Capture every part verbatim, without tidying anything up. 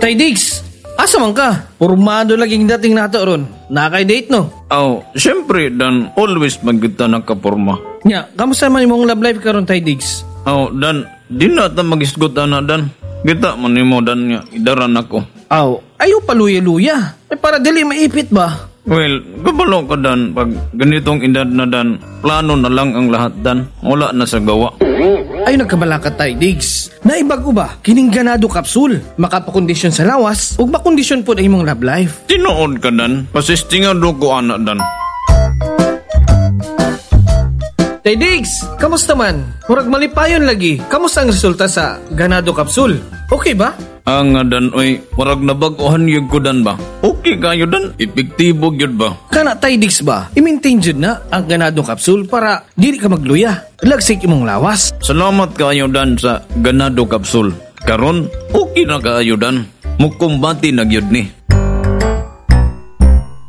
Tay Diggs, asa man ka? Pormado laging dating nato ron. Nakay date no? Aw, syempre Dan, always man kita nakaporma. Nya, kamusta man imong love life karon Tay Diggs? Aw, Dan, di na ta magisgot ana Dan. Kita man nimo Dan nga idaran ako. Aw, ayo paluya-luya. Eh para dili maipit ba? Well, kabalo ka Dan, pag ganitong edad na Dan, plano na lang ang lahat Dan. Wala na sa gawa. Ay nagkabalakat tay Diggs. Naibago ba kining ganado capsule? Makapakondisyon sa lawas ug makondisyon pod ang imong love life. Tinuod ka Dan, pasistingado ko ana Dan. Tay Diggs, kamusta man? Murag malipayon lagi. Kamusta ang resulta sa ganado capsule? Okay ba? Ang nga Dan, oy, murag nabag-ohan yun ko Dan ba? Okay kayo Dan, epektibo gyud ba? Kana Tay Diggs ba? I-maintain jud na ang ganado capsule para dili ka magluya. Lagsik imong lawas. Salamat kayo Dan sa ganado capsule. Karon, okay na kaayo Dan. Mukumbati na gyud ni.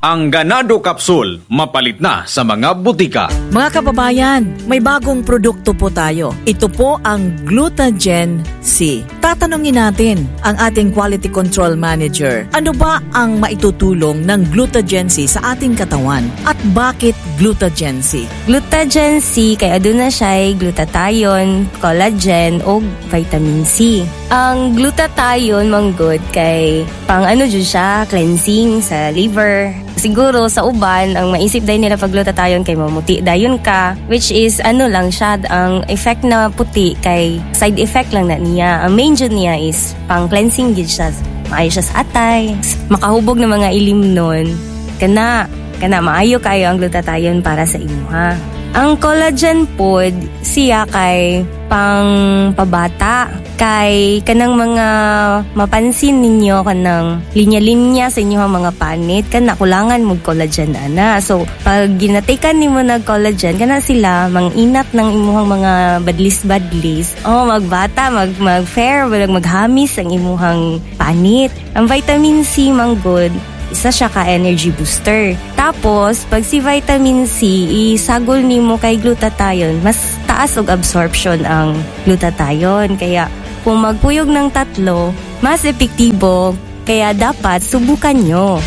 Ang Ganado Capsule, mapalit na sa mga butika. Mga kababayan, may bagong produkto po tayo. Ito po ang Glutagen C. Tatanungin natin ang ating Quality Control Manager. Ano ba ang maitutulong ng Glutagen C sa ating katawan? At bakit Glutagen C? Glutagen C, kay aduna siya glutathione, collagen, o vitamin C. Ang glutathione manggod kay pang ano jud siya, cleansing sa liver. Siguro sa uban, ang maisip dayon nila pag glutathione kay mamuti dayon ka, which is ano lang siya, ang effect na puti kay side effect lang na niya. Ang main jud niya is pang cleansing gid siya. Maayo siya sa atay, makahubog ng mga ilim nun. Kana, kana maayo kayo ang glutathione para sa imuha. Ang collagen pod siya kay pang pabata, kay kanang mga mapansin ninyo kanang linya-linya sa inyong mga panit kana kulangan mo collagen ana. So pag ginatikan nimo nag collagen kana sila manginat ng imuhang mga badlis-badlis. Oh, magbata, mag mag fair, walang maghamis ang imuhang panit. Ang vitamin C manggod, isa siya ka energy booster. Tapos, pag si vitamin C, isagol nimo kay glutathione, mas taas og absorption ang glutathione. Kaya, kung magpuyog ng tatlo, mas epektibo. Kaya dapat subukan nyo.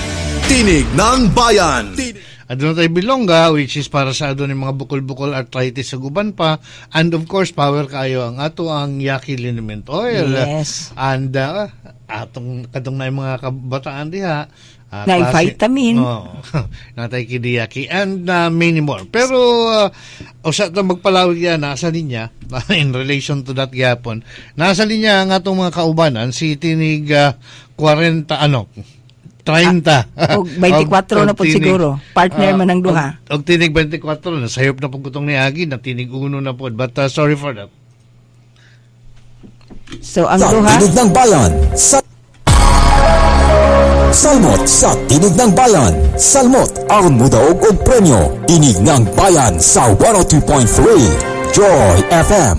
Tinig ng Bayan. Aduna tayo bilongga, which is para sa adto ni mga bukol-bukol arthritis sa guban pa. And of course, power kayo ang ato ang Yaki Liniment Oil. Yes. And uh, atong kadtong na mga kabataan diha. Uh, Na vitamin. Oh, natay kidiyaki and uh, many more. Pero uh, usa ta magpalawig yan nasa linya in relation to that gyapon. Nasa linya ang atong mga kaubanan si Tinig uh, forty ano thirty. Ah, og twenty-four na po siguro. Partner uh, man ang duha. Og, og Tinig twenty-four na sayop na po kutong niagi na Tinig uno na po. But uh, sorry for that. So ang duha Tinig ng Bayan sa Salmot sa Tinig ng Bayan. Salmot aron modaog og premyo. Tinig ng Bayan sa one oh two point three Joy F M.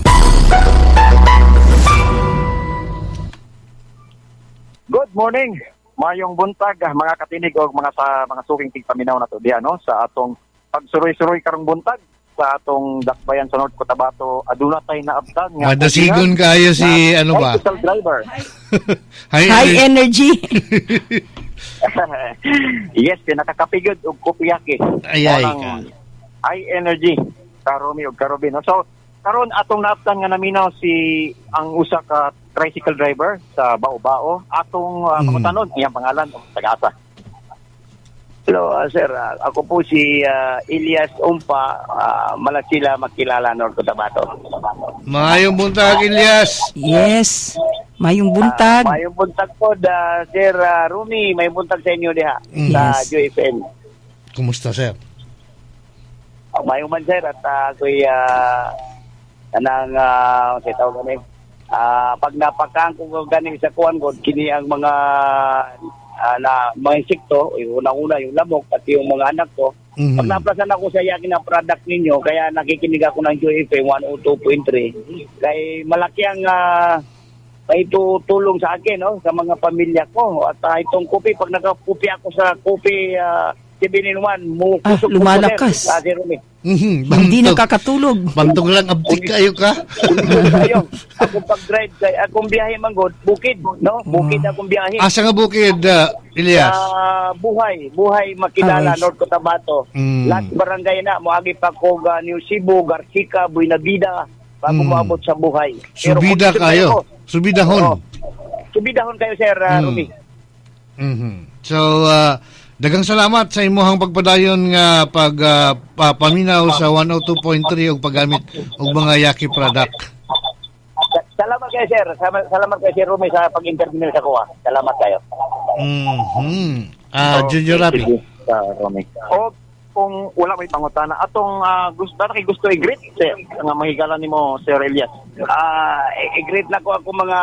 Good morning. Mayong buntag mga katinig og mga sa mga suking tigpaminaw nato diha no sa atong pagsuroy-suroy karong buntag sa atong dakbayan sa North Cotabato. Aduna tay naabtan nga madasigon kayo si ano ba? Bicycle driver. High, high energy. Yes, pinakakapigod og kopiyaki. Ay ay ka. High energy karomi og karobi no. So karon atong naabtan nga naminaw si ang usa ka tricycle driver sa Bao-Bao. Atong uh, pangutanon mm. iyang pangalan og taga-asa. Hello, uh, sir. Uh, ako po si uh, Elias Umpa, uh, Malasila, Makilala, North Cotabato. Maayong buntag, Elias. Yes. Maayong buntag. Uh, maayong buntag po, uh, Sir uh, Rumi. Maayong buntag sa inyo diha mm. sa Yes. Joy F M. Kumusta, sir? Uh, maayong man, sir. At uh, ako'y uh, anang, uh, say tawag kami, uh, pag napakaang ko ganing sa kuwan ko, kini ang mga Uh, na mga insekto, yung unang-una yung lamok at yung mga anak ko. Mm-hmm. Pag naplasan ako sa yakin na product ninyo, kaya nakikinig ako ng Joy F M one oh two point three. Kay malaki ang uh, maitutulong sa akin, no, sa mga pamilya ko. At uh, itong kopi, pag nakakupi ako sa kopi uh, seven in one. Mo Ah, kusog lumalakas. Ah, Sir Rumi. Mhm, Hindi bantog. nakakatulog. Bantog lang abtik kayo ka. Kayo, akong pag-drive kay akong biyahe manggod, bukid, no? Bukid akong biyahe. Asa nga bukid, uh, Elias? Sa buhay, buhay makilala Ah, North Cotabato. Mm. Lahat barangay na moagi pa ko ga New Cebu, Garcica, Buenavida bago Mm. moabot sa buhay. Pero Subida kung kayo. ko, Subidahon. Oo. Subidahon kayo sir uh, Mm. Rumi. Mhm. So, uh, daghang salamat sa imuhang pagpadayon nga pag uh, pa- paminaw sa one oh two point three ug paggamit og mga Yaki product. Sa- Salamat kayo sir. Salamat, salamat kayo, Sir Rumi, sa pag-interview sa kuha. Salamat kayo. Mhm. Ah, Junior Rapi. Sa Rumi. O kung wala may pangutana atong uh, gusto kay gusto i-greet sir nga mahigala nimo, Sir Elias. Ah, i- i-greet na ko ako mga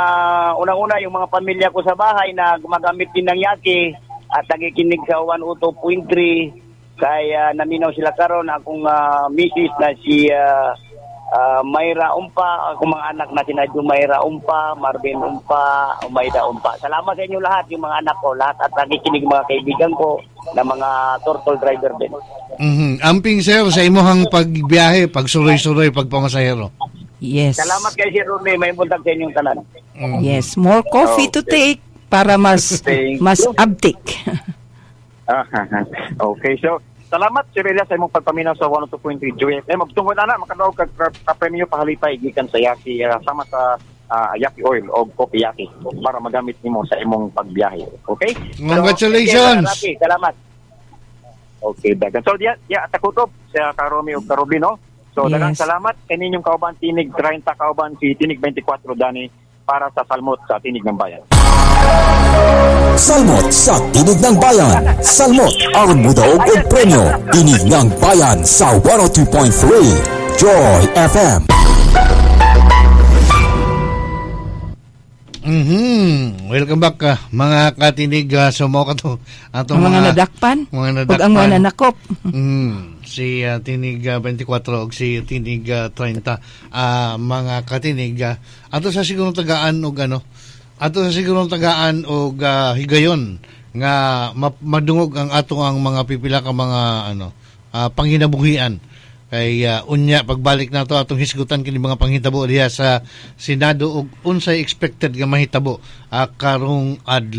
unang-una yung mga pamilya ko sa bahay na gumagamit din ng Yaki at nakikinig sa one oh two point three kay ah, naminaw sila karon, akong ah, misis na si ah, ah, Mayra Umpa, akong mga anak na sina Jumayra Umpa, Marvin Umpa, Umayda Umpa. Salamat sa inyo lahat, yung mga anak ko, lahat at nakikinig mga kaibigan ko na mga turtle driver din. Mhm. Amping sir sa imuhang pagbiyahe, pagsuroy-suroy, pagpamasahero. Yes. Salamat kay Sir Rumi, may buntag sa inyong tanan. Mhm. Yes, more coffee to take para mas Thank mas you. abtik. Ah, okay, so salamat, Sir Elias, sa imong pagpaminaw sa one oh two point three Joy F M. Magtungod ana makadaog kag ka, ka premyo pahalipay gikan sa Yaki uh, sama sa ah, Yaki Oil o Coffee Yaki para magamit nimo sa imong pagbiyahe. Okay? Congratulations! Rapi, salamat. Okay, dagan. So diya diya takutob sa Karomi ug Karubi, no? So Yes. daghang salamat kaninyong kauban Tinig thirty, kauban si Tinig twenty-four dani para sa Salmot sa Tinig ng Bayan. Salmot sa Tinig ng Bayan. Salmot aron mudaog og premyo. Tinig ng Bayan sa one oh two point three Joy F M. Mhm. Welcome back ah, mga katinig uh, so mao kato atong Ang mga nadakpan mga ug nadakpan. ang mga nanakop. Mm, si ah, Tinig ah, twenty-four ug si Tinig ah, thirty, ah, mga katinig, ah, ato sa siguro tagaan og ano ato sa siguro tagaan og ah, higayon nga ma- madungog ang ato ang mga pipila ka mga ano ah, panginabuhian kay ah, unya pagbalik nato atong hisgutan kini mga panghitabo diha sa Senado ug unsay expected nga mahitabo ah, karong adlaw.